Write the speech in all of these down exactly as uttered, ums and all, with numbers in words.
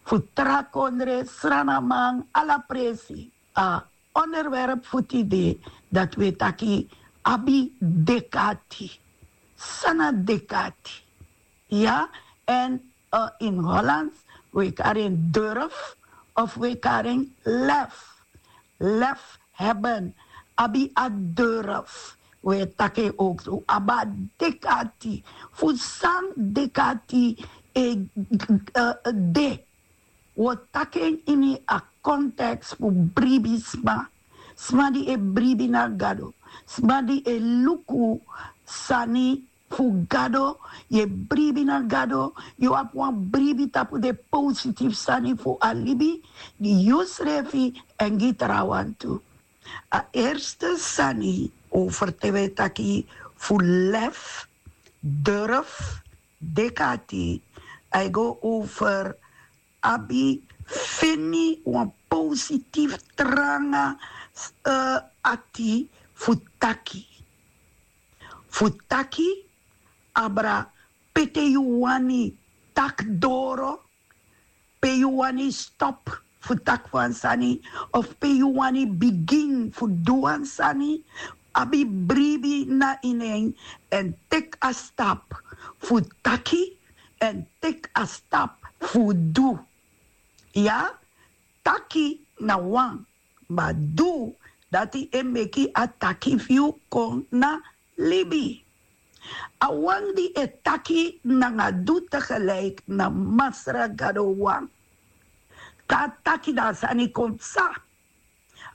fu tra kondre, sranaman, ala presi. A onderwerp fu tide, dati wi e taki abi dek'ati. San na dek'ati? Ya, en in Hollands wi e kari en durf of wi e kari en lef. Lef hebben, abi a durf. Wi e taki en ook so, abi a dek'ati. Fu san dek'ati e de. Wi o taki en ini a konteks fu bribi sma. Sma di e bribi na Gado, sma di e luku sani fu Gado. Yu e bribi na Gado, yu abi wan bribi tapu den positifu sani fu a libi, gi yusrefi èn gi trawan tu. A erste sani over te wi e taki fu lef, durf, dek'ati, a e go over abi, feni wan positifu tranga ati fu taki. Fu taki abra pe te yu wani taki doro, pe yu wani stop fu taki wan sani, of pe yu wani bigin fu du wan sani. Abi bribi na ini en, èn teki a stap fu taki, èn teki a stap fu du. Ya, taki na wan, ma du, dati e meki a taki fu yu kon na libi. A wan di e taki nanga du tegelijk na Masra Gado wan. Te a taki, dan a sani kon psa.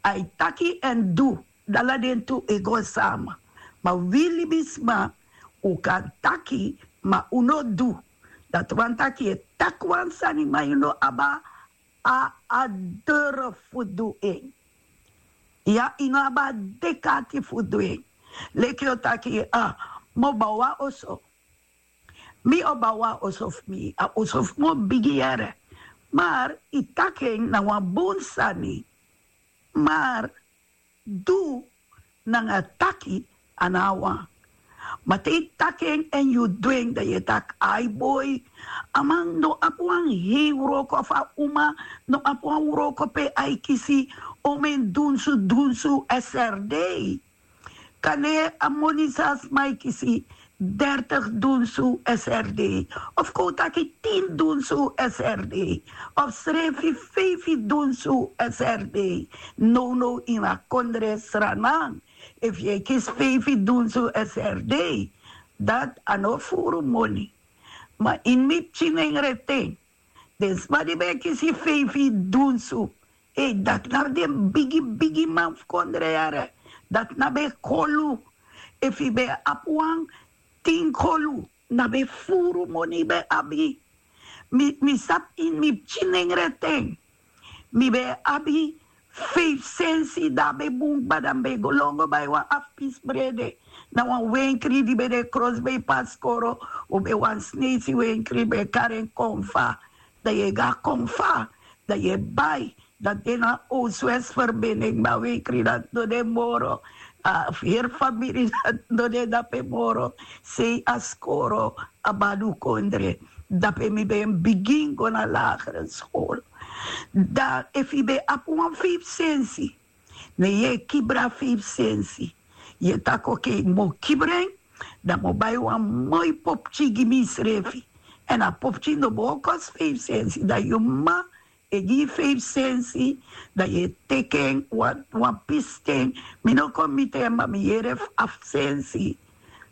A e taki èn du, dan ala den tu e go sama. Ma wi libisma, un kan taki, ma un no du. Dati wani taki yu e taki wan sani, ma yu no abi a, a durf fu du en. Ya, yu no abi a dek'ati fu du en. Leki yu o taki, a, mi o bow wan oso. Mi o bow wan oso fu mi, a oso fu mi o bigi yere. Maar yu taki en na wan bun sani. Maar du nanga taki a no a wan. Ma te yu taki en èn yu du en, dan yu e taki, ai boi, a man no abi wan hei wroko, of a uma no abi wan wroko pe a e kisi omen dunsu, dunsu S R D. Kande a moni san a sma e kisi, dertig dunsu S R D, of kon un taki tin dunsu S R D, of srefi feifi dunsu S R D. Nownow ini a kondre Sranan, efu yu e kisi feifi dunsu S R D, dati a no furu moni. Ma ini mi pikinengre ten, den sma di ben e kisi feifi dunsu, ei, dati na den bigi bigi man fu kondre yere. Dati na ben kolu. Efu yu ben abi wan tin kolu, na ben furu moni yu ben abi. Mi, mi sabi ini mi pikinengre ten, mi ben abi feifi sensi, dan a ben bun kba, dan mi ben go lon go bai wan afu pisi brede na wan wenkri di ben de krosbei pasi Koro. Un ben wan Sneisi wenkri, ben e kari en Konfa. Dan yu e go na Konfa, dan yu e bai, dan de na Oostwest Verbinding, ma a wenkri dati no de moro. A heri famiri dati no de dape moro. Sei a skoro, a badu kondre. Dape mi ben bigin go na lagere skol. Dan efu yu ben abi wan feifi sensi, ne yu e kibri a feifi sensi. Yu e taki, okei, mi o kibri en, dan mi o bai wan moi popki gi misrefi. Èn a popki no bo kosi feifi sensi, dan yu mama e gi yu feifi sensi, dan yu e teki en wan, wan pisten. Mi no kon miti en, ma mi yere fu afu sensi.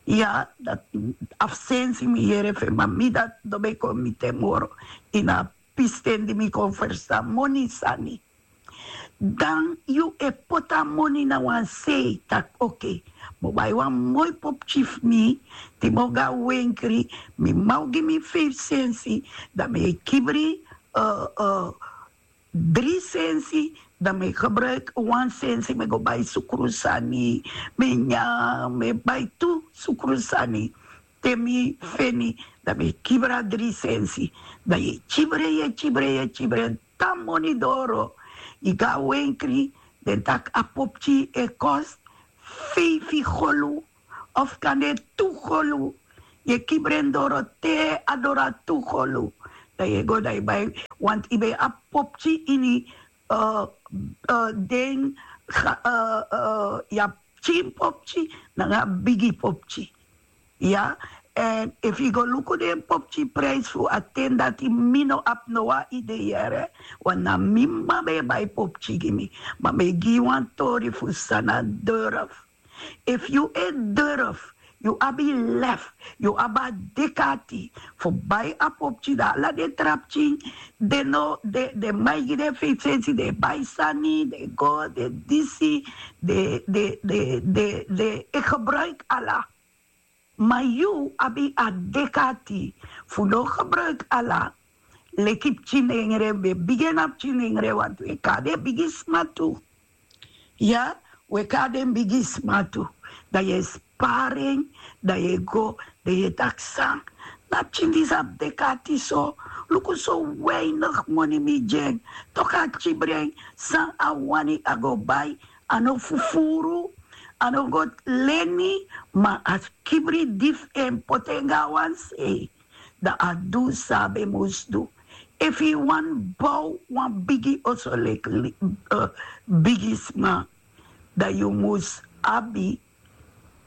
Ya, dati afu sensi mi yere fu en, ma mi dati no ben kon miti en moro. Ini a pisten di mi kon ferstan moni sani. Dan yu e poti a moni na wan sei, taki, okei, mi o bai wan moi popki fu mi, di mi o go na wenkri, mi mama o gi mi feifi sensi, dan mi e kibri, eh, eh, dri sensi, dan mi e gebruiki wan sensi, mi e go bai sukru sani, mi e nyan, mi e bai tu sukru sani. Te mi feni, dan mi e kibri a dri sensi. Dan yu e kibri en, yu e kibri en, yu e kibri en, te a moni doro. Yu go na wenkri, den taki a popki e kosi feifi golu, of kande tu golu. Yu e kibri en doro te a doro na tu golu. Dan yu e go dan yu bai, want yu ben abi popki ini den, yu abi pikin popki nanga bigi popki. Ya. Èn efu yu go luku den popki prijsi fu a ten dati, mi no abi no wan idee yere. Wan na mi mama ben e bai popki gi mi. Ma mi e gi yu wan tori fu san na durf. Efu yu e durf, yu abi lef, yu abi a dek'ati fu bai a popki, dan ala den tra pikin, den no den man e gi den feifi sensi, den e bai sani, den e go, den disi, den e gebruiki ala. Ma yu abi a dek'ati fu no gebruiki ala. Leki pikin nengre, ben bigi en na pikin nengre, wantu e kon na den bigisma tu. Ya, we kon na den bigisma tu. Dan yu e spari en, dan yu e go, dan yu e taki san, na pikin disi abi dek'ati so. Luku so weinig moni mi gi en. Toku a kibri en, san a wani a go bai. A no fufuru, a no go leni, ma a kibri di fu en, poti en go na wan sei. Dan a du san a ben mus du. Efu yu wani bow wan bigi oso leki bigisma, dan yu mus abi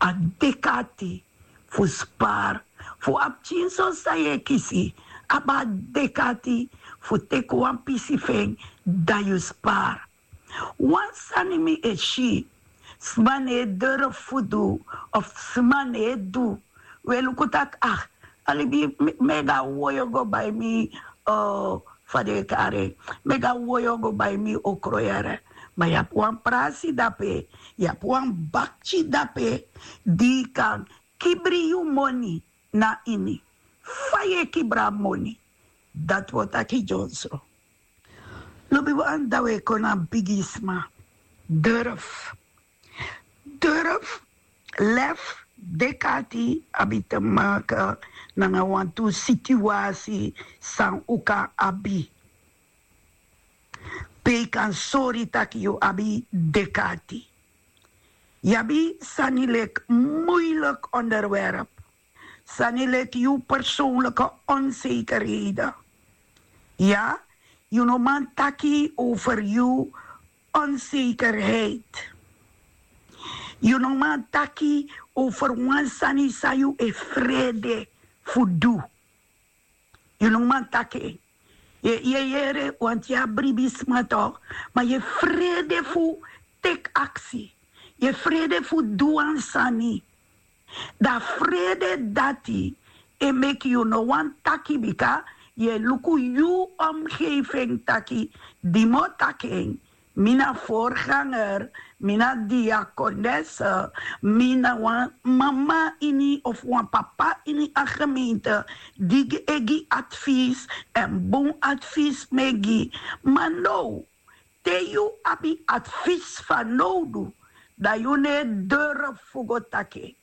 a dek'ati fu spari. Fu a pikin so san yu e kisi, abi a dek'ati fu teki wan pisi fu en, dan yu spari. Wan sani mi e si, sma no e durf fu du, of sma no e du. We luku taki, ah, a libi, mi e go na woyo go bai mi, fa den e kari en, mi e go na woyo go bai mi okro yere. Ma yu abi wan prasi dape, yu abi wan bakti dape, di yu kan kibri yu moni na ini. Fa yu e kibri a moni? Dati wi o taki dyonson. Lobiwan, dan wi e kon na bigisma. Durf. Durf, lef, dek'ati abi te maki nanga wantu situasi san un kan abi. Pe yu kan sori taki yu abi dek'ati. Yu abi sani leki moeilijk onderwerp. Sani leki yu persoonlijke onzekerheden. Ya, yu no man taki over yu onzekerheid. Yu no man taki over wan sani san yu e frede fu du. Yu no man taki en. Yu e yere, want yu abi bribi sma toch, ma yu e frede fu teki aksi. Yu e frede fu du wan sani. Dan a frede dati e meki yu no wani taki, bika yu e luku yu omgeving taki, di mi o taki en, mi na voorganger, mi na diakones, mi na wan mama ini of wan papa ini a gemeente di e gi advies, èn bun advies mi e gi. Ma now, te yu abi advies fanowdu, dan yu no e durf fu go taki en.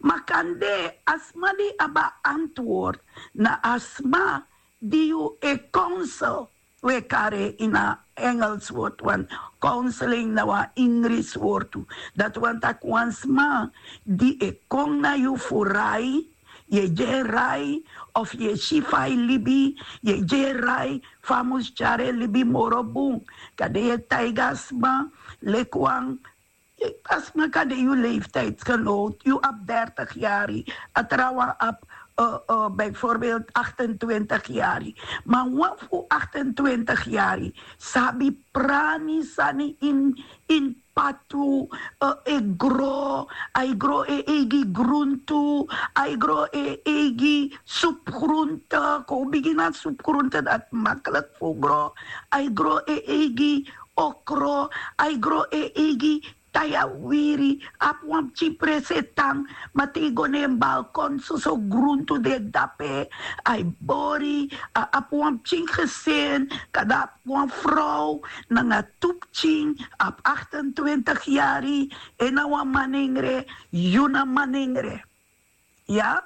Ma kande a sma di abi a antwoord na a sma di yu e counsel. Wi e kari en ini a Engels wortu, want counseling na wan Ingrisi wortu. Dati wani taki wan sma di e kon na yu fu rai, yu e gi en rai, of yu e si fa a e libi, yu e gi en rai fa a mus tyari en libi moro bun. Kande yu e taigi a sma leki wan, a sma kan de yu leeftijdsgenoot, yu abi dertig yari, a trawan abi bijvoorbeeld achtentwintig yari. Ma wan fu achtentwintig yari sabi prani sani in, in patu, e gro, a e gro en eigi gruntu, a e gro en eigi supgruntu. Kon bigin na supgruntu, dati makkelijk fu gro. A e gro en eigi okro, a e gro en eigi taya wiri. Abi wan pikin presi e tan, ma te yu go na en balkon, soso gruntu de dape. A e bori, a abi wan pikin gesin, kande a abi wan frow nanga tu pikin, a abi achtentwintig yari, en na wan manengre, yu na manengre. Ya,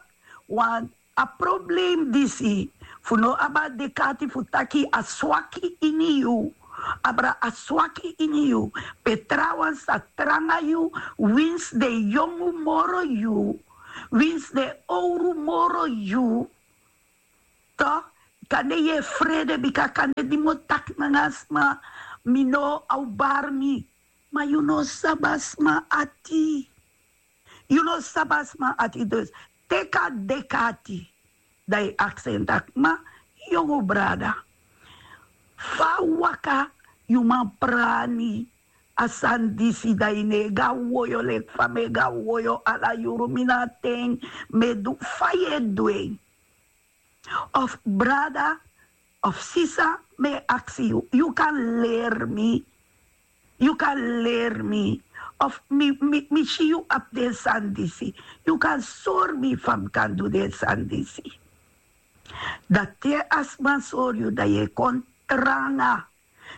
want a probleem disi fu no abi a dek'ati fu taki a swaki ini yu, abra a swaki ini yu, pe trawan sa tranga yu, winsi den yongu moro yu, winsi den owru moro yu, toch, Kande yu e frede bika kande di mi o taki nanga a sma, mi no o awbari mi. Ma yu no sabi a sma ati. Yu no sabi a sma ati. Dus teki a dek'ati, dan yu aksi en taki: Ma, yongu brada, fa a waka? Yu man prani a sani disi, dan yu no e go na woyo leki fa mi e go na woyo ala yuru. Mi na a ten mi e du fa yu e du en. Of brada of sisa, mi e aksi yu, yu kan leri mi. Yu kan leri mi. Of mi, mi, mi si yu abi den sani disi, yu kan sori mi fa mi kan du den sani disi. Dan te a sma sori yu, dan yu e kon tranga.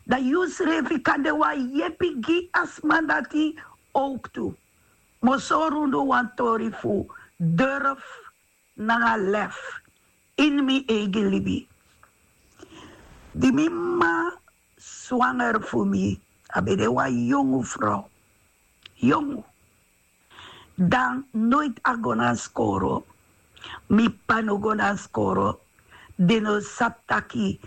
Dan yu srefi kan de wan yepi gi a sma dati. Owktu mi o sori unu wan tori fu durf nanga lef ini mi eigi libi. Di mi m'ma swanger fu mi, a ben de wan yongu frow. Yongu. Dan noiti a go na skoro. Mi p'pa no go na skoro. Den no sabi taki,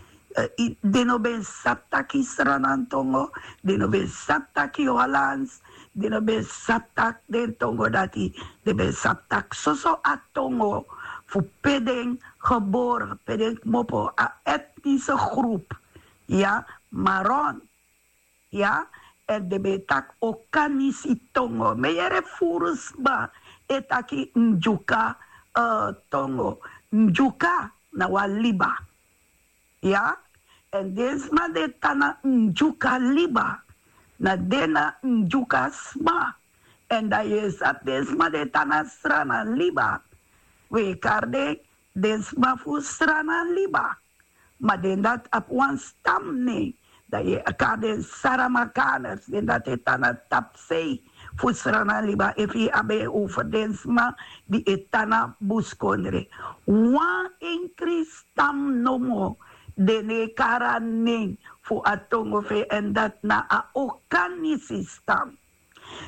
den no ben sabi taki Sranantongo. Den no ben sabi taki Hollands. Den no ben sabi taki den tongo dati. Den ben sabi taki soso a tongo fu pe den gebore, pe den kmopo, a etnise grup. Ya, Maron. Ya. Èn den ben e taki Okanisi tongo. Mi e yere furu sma e taki Ndyuka tongo. Ndyuka na wan liba. Ya. Èn den sma di e tan na Ndyuka liba, na den na Ndyuka sma. Èn dan yu e sabi den sma di e tan na Sranan liba, wi e kari den den sma fu Sranan liba. Ma den dati abi wan stamnen, dan yu e kari den Saramakaners, den dati e tan na tapusei fu Sranan liba. Efu yu abi en over den sma di e tan na buskondre, wan enkri stam nomo den no e kari a nen fu a tongo fu en, èn dati na a Okanisi stam.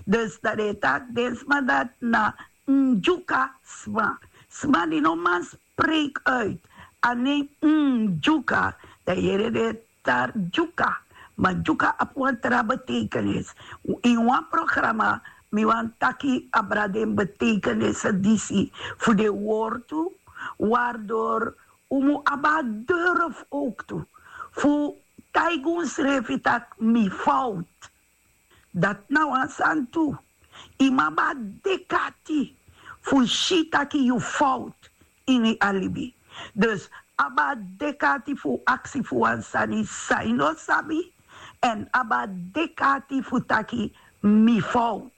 Dus dan den e taki den sma dati na Ndyuka sma. Sma di no man spreek uit a nen Ndyuka, dan yu yere den e taki Dyuka. Ma Dyuka abi wan tra betekenis. Ini wan programa mi wani taki abra den betekenis disi fu den wortu, waardoor un mu abi a durf owktu fu taigi unsrefi taki mi fout. Dati na wan sani tu. Yu mu abi a dek'ati fu si taki yu fout ini a libi. Dus abi a dek'ati fu aksi fu wan sani san yu no sabi, èn abi a dek'ati fu taki mi fout.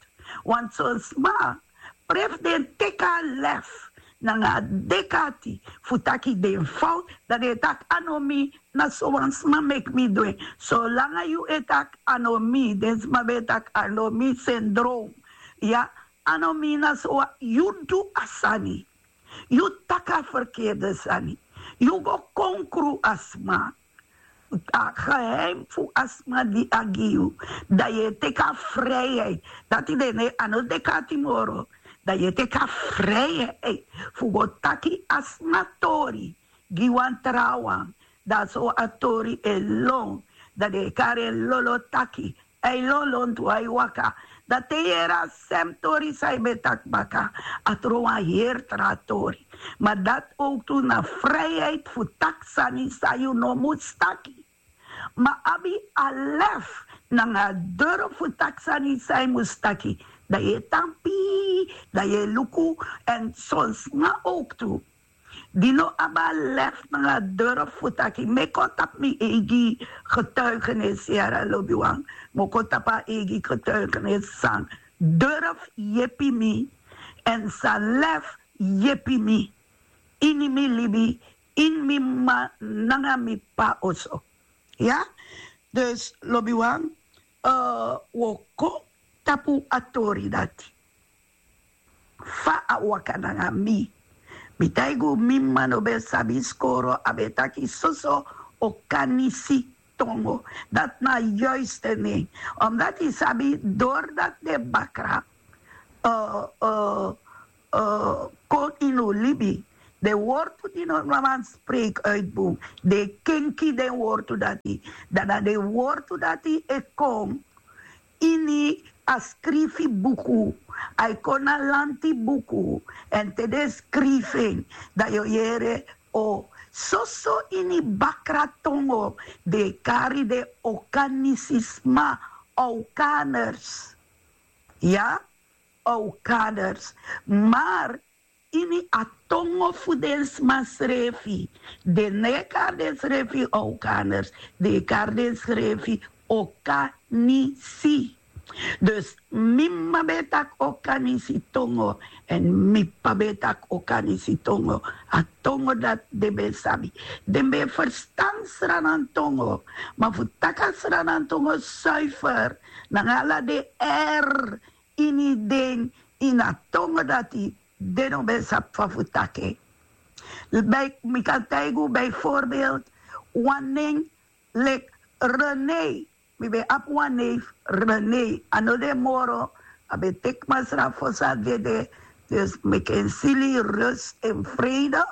Want son sma, prefu den teki a lef nanga a dek'ati fu taki den fout, dan den e taki a no mi, na so wan sma meki mi du en. Solanga yu e taki a no mi, den sma ben e taki a no mi syndroom. Ya, a no mi na so wan, yu du a sani. Yu taki a ferkerde sani. Yu go konkru a sma. A geheim fu a sma di a gi yu, dan yu e teki a vrijheid. Dati den e, a no dek'ati moro. Dan yu e teki a vrijheid fu go taki a sma tori gi wan trawan. Dan so a tori e lon. Dan den e kari en lolo taki. A e lonlon tu, a e waka. Dan te yu yere a sem tori san yu ben taki baka, a tron wan heri tra tori. Ma dati owktu na vrijheid fu taki sani san yu no mus taki. Ma abi a lef nanga a durf fu taki sani san yu mus taki, dan yu e tan pii, dan yu e luku. Èn son sma owktu di no abi a lef nanga a durf fu taki. Mi e kon tapu mi eigi getuigenis, yara lobiwan. Mi o kon tapu a eigi getuigenis san durf yepi mi, èn san lef yepi mi ini mi libi, ini mi m'ma nanga mi p'pa oso. Ya. Dus lobiwan, wi o kon tapu a tori dati. Fa a waka nanga mi. Mi taigi unu, mi m'ma no ben sabi skoro, a ben taki soso Okanisi tongo. Dati na a yuiste nen. Omdati yu sabi, dori dati den bakra kon ini un libi, Den wortu di no man spreek uit bun, den kenki den wortu dati. Dan na den wortu dati e kon ini a skrifi buku, a e kon na lanti buku. Èn te den skrifi en, dan yu o yere, o soso ini bakra tongo den e kari den Okanisi sma, Okaners. Ya, Okaners. Maar ini a tongo fu den sma srefi, den no e kari den srefi Okaners, den e kari den srefi Okanisi. Dus mi m'ma ben e taki Okanisi tongo, èn mi p'pa ben e taki Okanisi tongo. A tongo dati den ben sabi. Den ben e ferstan Sranan tongo. Ma fu taki a Sranan tongo suifer, nanga ala den R ini den, ini a tongo dati, den no ben sabi fa fu taki en. Bij, mi kan taigi un bijvoorbeeld wan nen leki René. Mi ben abi wan neef René. A no de moro, a ben teki masra fosi a dede. Dus meki en sili rust en vrede.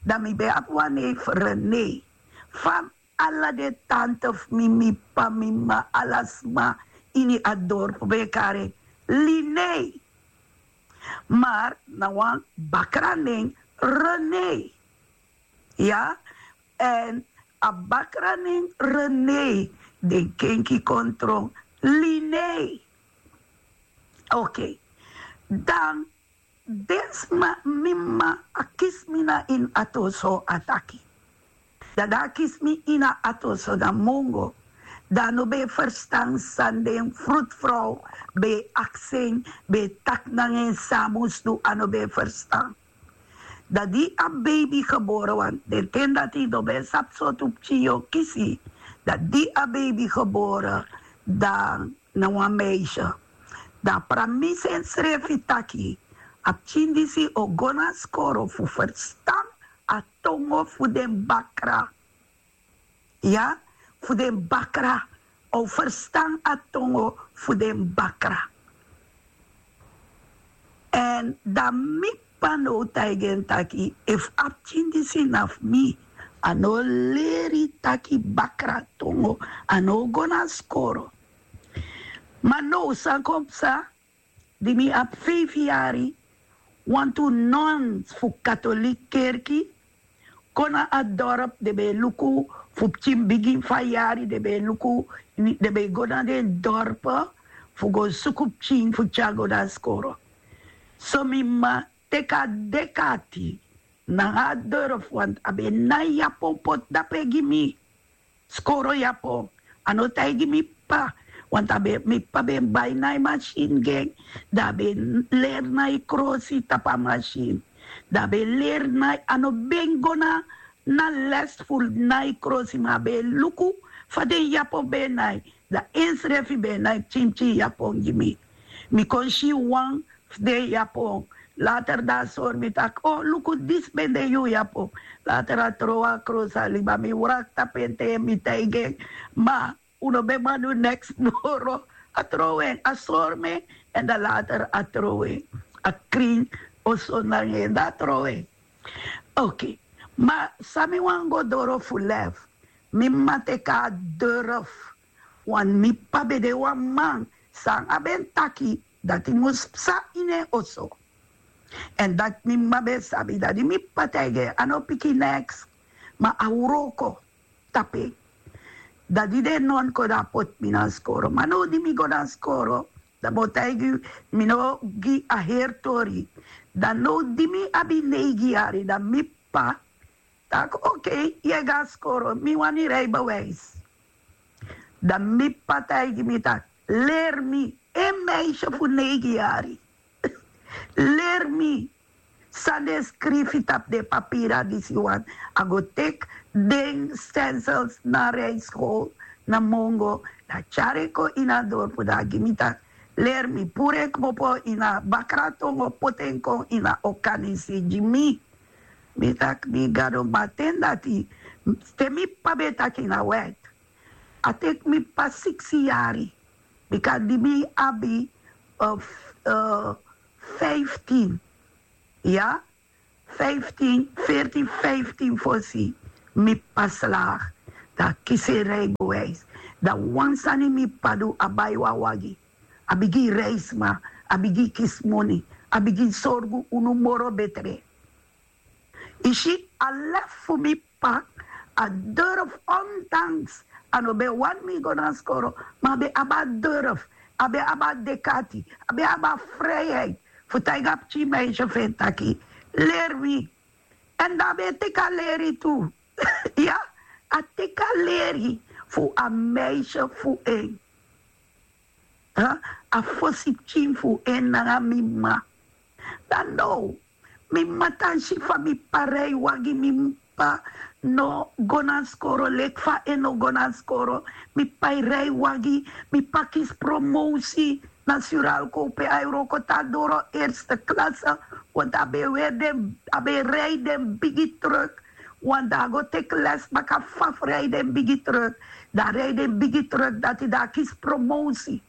Dan mi ben abi wan neef René. Fa ala den tante fu mi, mi p'pa, mi m'ma, ala sma ini a dorpu ben e kari en Liné. Maar na wan bakra nen René. Ya, èn a bakra nen René, den kenki kon tron Liné. Oké. Dan den sma, mi m'ma, a kisi mi na ini ati oso, a taki. Dan a kisi mi ini ati oso na mongo. Dan a no ben e ferstan san den frutvrouw ben e aksi en, ben e taki nanga en san a mus du, a no ben e ferstan. Dan di a beibi gebore, want den ten dati yu no ben sabi sortu pikin yu o kisi. Dan di a beibi gebore, dan na wan meisje. Dan a pramisi ensrefi taki a pikin disi o go na skoro fu ferstan a tongo fu den bakra. Ya, fu den bakra. A o ferstan a tongo fu den bakra. Èn dan mi p'pa now taigi en taki, efu a pikin disi na fu mi, a no o leri taki bakra tongo, a no o go na skoro. Ma now san kon psa, di mi abi feifi yari, wantu non fu katoliki kerki kon na a dorp, den ben e luku fu pikin bigin fu a yari, den ben e luku, den ben e go na den dorp fu go suku pikin fu tyari go na skoro. So mi m'ma teki a deki ati nanga a dorp, want a ben e nai yapon poti dape gi mi. Skoro yapon. A no taigi mi p'pa, want a ben, mi p'pa ben bai nai masin gi en. Dan a ben leri nai krosi tapu a masin. Dan a ben leri nai, a no ben go na, na les fu nai krosi, ma a ben luku fa den yapon ben e nai. Dan ensrefi ben e nai pikin pikin yapon gi mi. Mi kon si wan fu den yapon. Later dan a sori mi taki, o, luku, disi ben de yu yapon. Later a trowe a krosi, a libi, a mi wraki tapu en te mi taigi en. Ma un no ben man du neks moro. A trowe en, a sori mi en, èn dan later a trowe en. A krin oso nanga en, dan a trowe en. Oké. Ma san mi wani go doro fu lef, mi m'ma teki a durf. Want mi p'pa ben de wan man, san a ben taki, dati mus psa ini en oso. Èn dati mi m'ma ben sabi, dati mi p'pa taigi en, a no piki neks, ma a wroko tapu en. Dan di den non kon, dan a poti mi na skoro. Ma now di mi go na skoro, dan mi o taigi, mi no gi a heri tori. Dan now di mi abi neigi yari, dan mi p'pa taki, oké, yu e go na skoro, mi wani rijbewijs. Dan mi p'pa taigi mi taki, leri mi, en meisje fu neigi yari. Leri mi san den skrifi tapu den papira disi wan. A go teki den stencils na rijschool, na mongo, dan a tyari en kon ini a dorpu, dan a gi mi taki, leri mi, puru en kmopo ini a bakra tongo, poti en kon ini a Okanisi gi mi. Mi taki, mi Gado, ma ten dati, te mi p'pa ben e taki na wet. A teki mi p'pa siksi yari. Bika di mi abi, eh, f-, eh, vijftien. Ya? Fiftin, veertin, fiftin fosi, mi p'pa slaag. Dan a kisi en rijbewijs. Dan wan sani mi p'pa du, a bai wan wagi. A bigin reisi sma, a bigin kisi moni, a bigin sorgu unu moro betre. Yu si, a lef fu mi p'pa, a durf, ondanks a no ben wani mi go na skoro, ma a ben abi a durf, a ben abi a dekati, a ben abi a vrijheid fu taigi a pikin meisje fu en taki: leri mi. Èn dan a ben e teki a leri tu. Ya, a teki a leri fu a meisje fu en. A fosi pikin fu en nanga mi m'ma. Dan now, mi m'ma tan si fa mi p'pa rij wagi, mi p'pa no go na skoro leki fa en no go na skoro. Mi p'pa e rij wagi, mi p'pa kisi promosi na Suralco pe a e wroko te a doro eerste klasse. Want a ben e weri den, a ben e rij den bigi truck. Want dan a go teki les baka fa fu rij den bigi truck. Dan a rij den bigi truck dati, dan a kisi promosi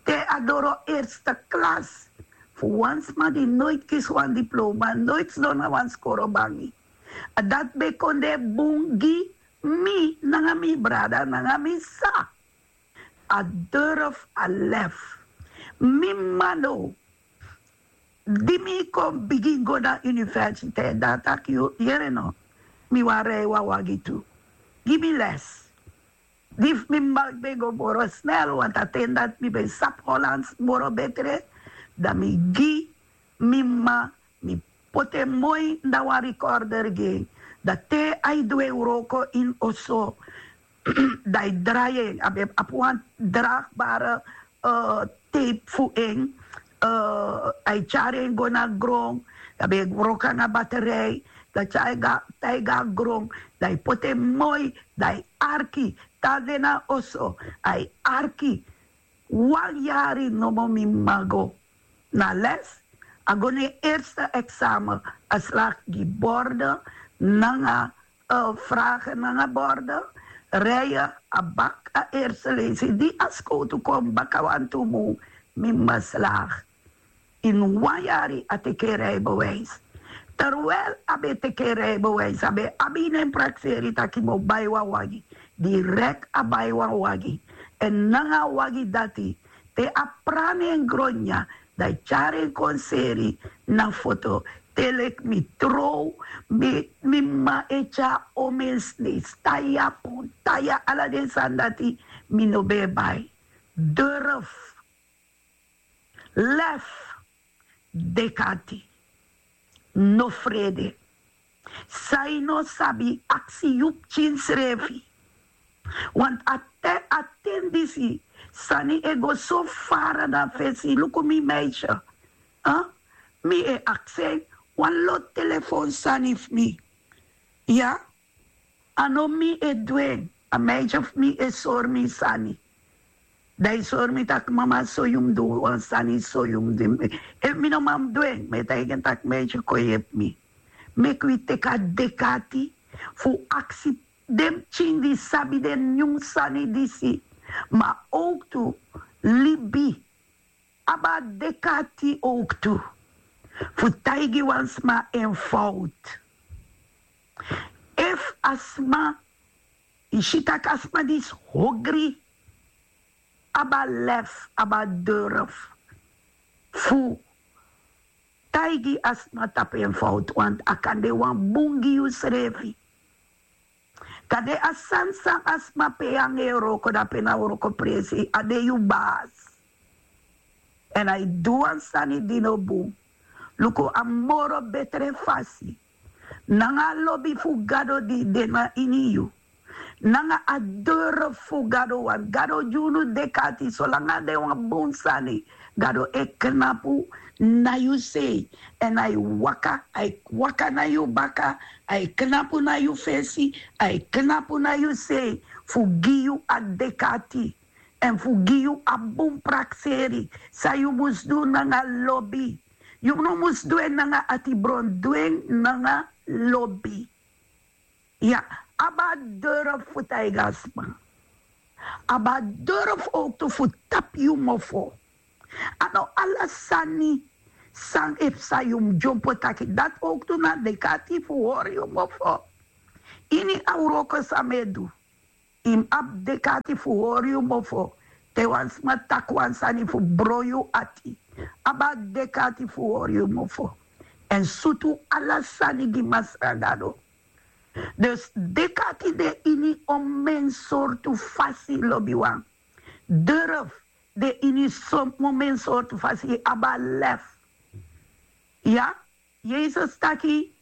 te a doro eerste klasse. Fu wan sma di noiti kisi wan diploma, noiti sidon na wan skoro bangi. A dati ben kon de bun gi mi nanga mi brada nanga mi sisa. A durf, a lef. Mi m'ma no, di mi kon bigin go na universiteit, dan a taki: yu yere no, mi wani rij wan wagi tu. Gi mi les. Di fu mi m'ma ben go moro snel, want a ten dati mi ben sabi Hollands moro betre. Dan mi gi mi m'ma, mi poti en moi na wan recorder gi en. Dan te a e du en wroko ini oso, dan a e drai en, a ben abi wan dragbare, eh, tape fu en, eh, a e tyari en go na gron. Dan a ben e wroko nanga batterij, dan tyari en go, tyari en go na gron. Dan a e poti en moi, dan a e arki. Te a de na oso, a e arki. Wan yari nomo mi m'ma go na les. A go na en eerste examen, a slaag gi borden nanga, eh, vragen nanga borden. Rijden, a baka a eerste leisi. Di a skowtu kon baka wantu mun, mi m'ma slaag. Ini wan yari a teki en rijbewijs. Terwijl a ben teki en rijbewijs, a ben abi ini en prakseri taki mi o bai wan wagi. Direct a bai wan wagi. Èn nanga a wagi dati, te a prani en gron dya, dan a e tyari en kon seri na foto. Te leki mi trow, mi, mi m'ma e tyari omensnis, tai a pun, tai a ala den sani dati, mi no ben e bai. Durf, lef, dek'ati, no frede. San yu no sabi, aksi yu pikin srefi. Want a ten, a ten disi, sani e go so fara na fesi. Luku mi meisje. Huh? Mi e aksi en wan lo telefon sani fu mi. Ya? A no mi e du en. A meisje fu mi e sori mi sani. Dan a e sori mi taki: mama, so yu mus du wan sani, so yu mus du. Efu mi no man du en, mi e taigi en taki: meisje, kon yepi mi. Meki wi teki a dek'ati fu aksi den pikin di sabi den nyun sani disi. Ma owktu libi abi a dek'ati owktu fu taigi wan sma en fowtu. Efu a sma, yu si taki a sma disi hogri, abi a lef, abi a durf fu taigi a sma tapu en fowtu, want a kan de wan bun gi yu srefi. Kande a sani san a sma pe yu nanga en e wroko, dape na wroko presi, a de yu basi. Èn a e du wan sani di no bun. Luku a moro betre fasi. Nanga a lobi fu Gado di de na ini yu. Nanga a durf fu Gado, want Gado gi unu dek'ati, solanga a de wan bun sani, Gado e knapu na yu sei. Èn a e waka, a e waka na yu baka, a e knapu na yu fesi, a e knapu na yu sei, fu gi yu a dek'ati. Èn fu gi yu a bun prakseri san yu mus du nanga lobi. Yu no mus du en nanga atibron, du en nanga lobi. Ya, abi a durf fu taigi a sma. Abi a durf owktu fu tapu yu mofo. A no ala sani San e psa, yu mus dyompo taki. Dati owktu na dekati fu hori yu mofo. Ini a wroko san mi e du, yu mus abi dekati fu hori yu mofo. Te wan sma taki wan sani fu bron yu ati, abi a dekati fu hori yu mofo. Èn sutu ala sani gi Masra Gado. Dus dekati de ini omen sortu fasi, lobiwan. Durf de ini omen sortu fasi, abi a lef. Ya, Yesus taki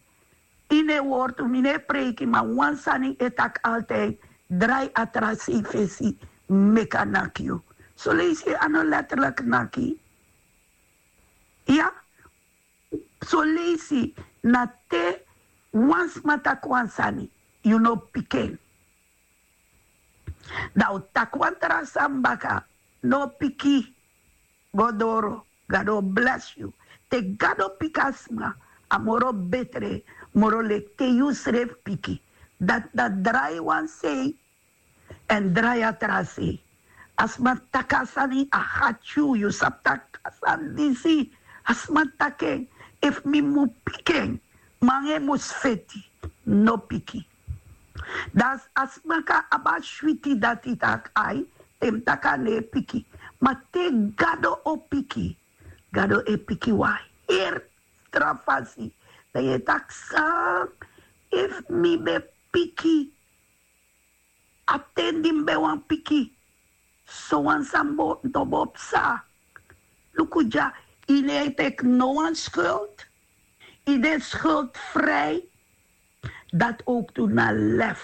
ini en wortu, mi no e preiki, ma wan sani e taki altijd: drai a tra sei fesi, meki a naki yu. Soleisi a no letterlijk naki. Ya, soleisi na te wan sma taki wan sani, yu no piki en. Dan un taki wan tra sani baka, no piki, go doro, Gado o blesi yu. Te Gado piki a sma, a moro betre, moro leki te yu srefi piki. Dati na drai wan sei èn drai a tra sei. A sma taki a sani, a hati yu, yu sabi taki a sani disi, a sma taki en, efu mi mu piki en, ma nanga en mus feti, no piki. Dan a sma kan abi a switi dati taki ai, te mi taki a no e piki. Ma te Gado o piki, Gado e piki wan heri tra fasi. Dan yu e taki san, efu mi ben piki a ten di mi ben wani piki, sowan sani bo no bo psa. Luku dya, yu no e teki no wan skuld, yu de skuldfrij. Dati owktu na lef,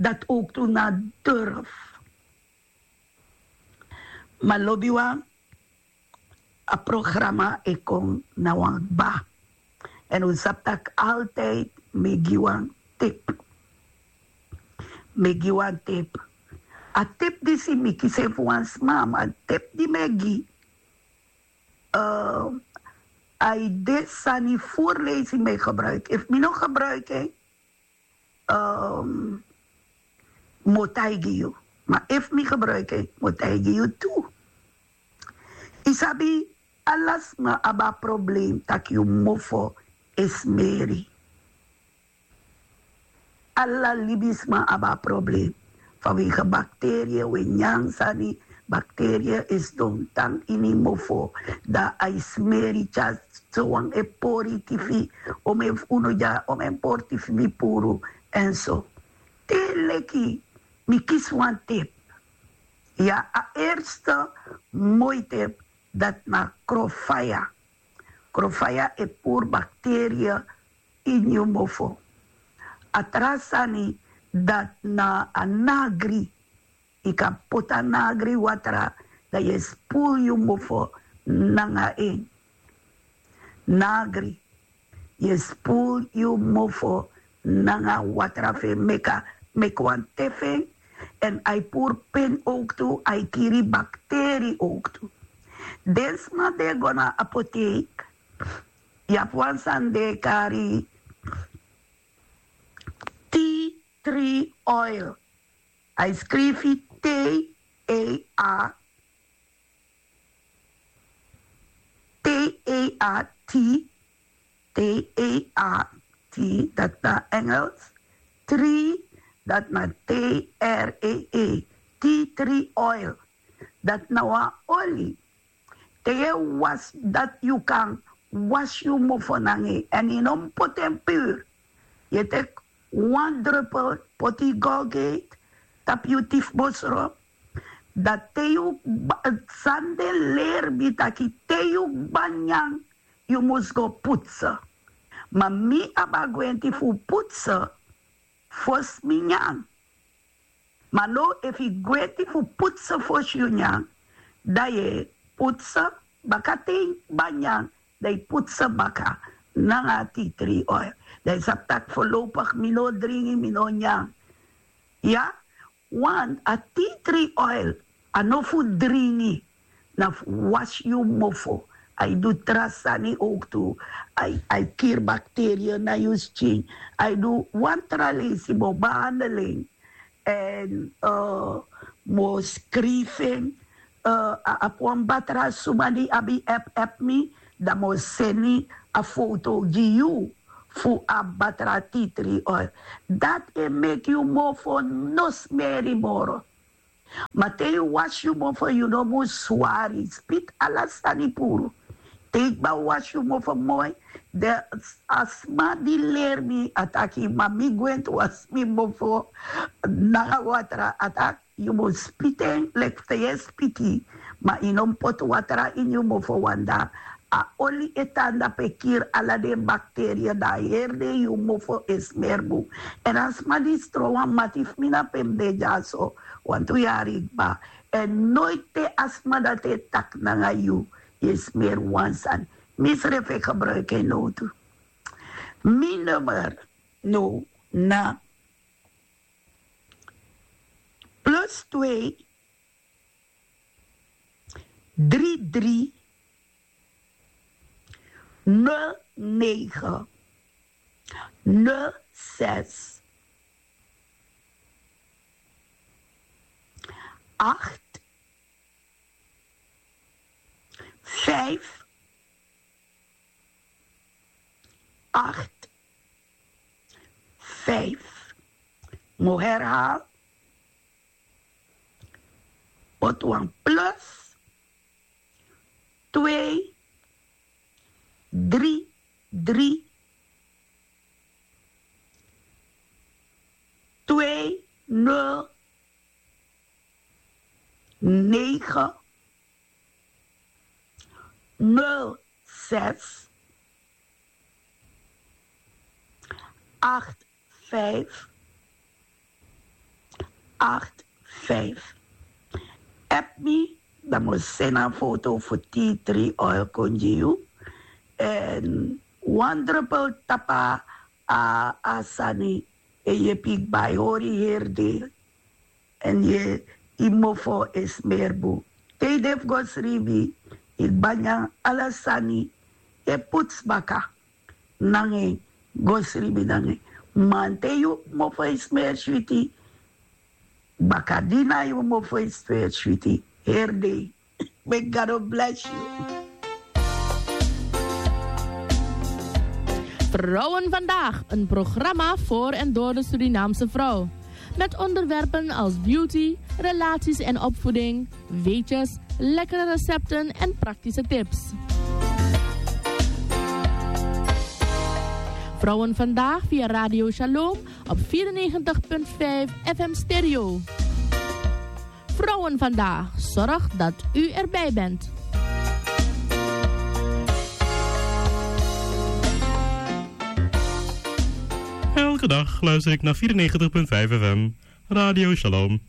dati owktu na durf. Ma lobiwan, a programa e kon na wan kba. Èn un sabi taki altijd mi e gi wan tip. Mi e gi wan tip. A tip disi mi kisi en fu wan sma, ma a tip di mi e gi, eh, a e de sani furu leisi mi e gebruiki. Efu mi no gebruiki en, ehm, mi o taigi yu. Ma efu mi gebruiki en, mi o taigi yu tu. Yu sabi, ala sma abi a problem taki yu mofo e smeri. Ala libisma abi a problem. Vanwege bacteria, un e nyan sani, bacteria e sidon tan ini mofo. Dan a e smeri, tyari sowan e pori tifi, omen fu unu dya, omen pori tifi mi puru, èn so. Te leki mi kisi wan tip. Ya, a eerste moi tip, dati na krofaya. Krofaya e puru bacteria ini yu mofo. A tra sani, dati na a nagri. Yu kan poti a nagri watra, dan yu e spoel yu mofo nanga en. Nagri. Yu e spoel yu mofo nanga watra fu en, meki a, meki wan te fu en. Èn a e puru pin owktu, a e kiri bacteria owktu. Den sma di e go na apotheek, yu abi wan sani di e kari tea tree oil. A e skrifi T E A, T E A, T, T E A, T, dati na Engels. Tree, dati na T R E E, tea tree oil. Dati na wan oli. Te yu e wasi, dati yu kan wasi yu mofo nanga en, èn yu no mus poti en puru. Yu e teki wan drupel, poti yu Colgate tapu yu tifbosro. Dan te yu kba, san den leri mi taki te yu kba nyan, yu mus go putse. Ma mi abi a gwenti fu putse fosi mi nyan. Ma now, efu yu gwenti fu putse fosi yu nyan, dan yu e putse baka. Te yu kba nyan, dan yu putse baka nanga a tea tree oil. Dan yu sabi taki voorlopig mi no dringi, mi no nyan. Ya, want a tea tree oil, a no fu dringi, na fu wasi yu mofo. A e du tra sani owktu. A e, a e kiri bacteria na yu skin. A e du wan tra leisi, mi o behandel en. Èn, eh, mi o skrifi en, eh, a abi wan batra suma di abi app, app mi, dan mi o seni a foto gi yu fu a batra titri oil. Dati e meki yu mofo no smeri moro. Ma te yu wasi yu mofo, yu no mus swari, spiti ala sani puru. Te yu kba wasi yu mofo moi, de a sma di leri mi a taki, ma mi gwenti wasi mi mofo nanga watra, a taki yu mus spiti en leki fa yu e spiti, ma yu no mus poti watra ini yu mofo, wanda a oli e tan dape kiri ala den bakteria, dan a heri dei yu mofo e smeri bun. Èn a sma di stron wan mati fu mi na pe mi de dyaso wantu yari kba. Èn noiti te a sma dati e taki nanga yu, yu e smeri wan sani. Mi srefi e gebruiki en nowtu. Mi nummer now na plus twee, drie drie, nul negen, nul zes, acht, vijf, acht, vijf. Mi o herhaal. Poti wan plus twee, drie drie, twee nul, negen, nul zes, acht vijf, acht vijf. App mi, dan mi o seni a foto fu tea tree oil kon gi yu. Èn wan drupel tapu a, a sani, e yepi yu kba, yu hori heri dei. Èn yu, yu mofo e smeri bun. Te yu de fu go sribi, yu kba nyan ala sani, yu e putsu baka nanga en, go sribi nanga en. Ma te yu mofo e smeri switi, bakadina yu mofo e smeri switi heri dei. May God bless you. Vrouwen Vandaag, een programma voor en door de Surinaamse vrouw. Met onderwerpen als beauty, relaties en opvoeding, weetjes, lekkere recepten en praktische tips. Vrouwen Vandaag via Radio Shalom op vierennegentig punt vijf F M Stereo. Vrouwen Vandaag zorgt dat u erbij bent. Elke dag luister ik naar vierennegentig punt vijf F M, Radio Shalom.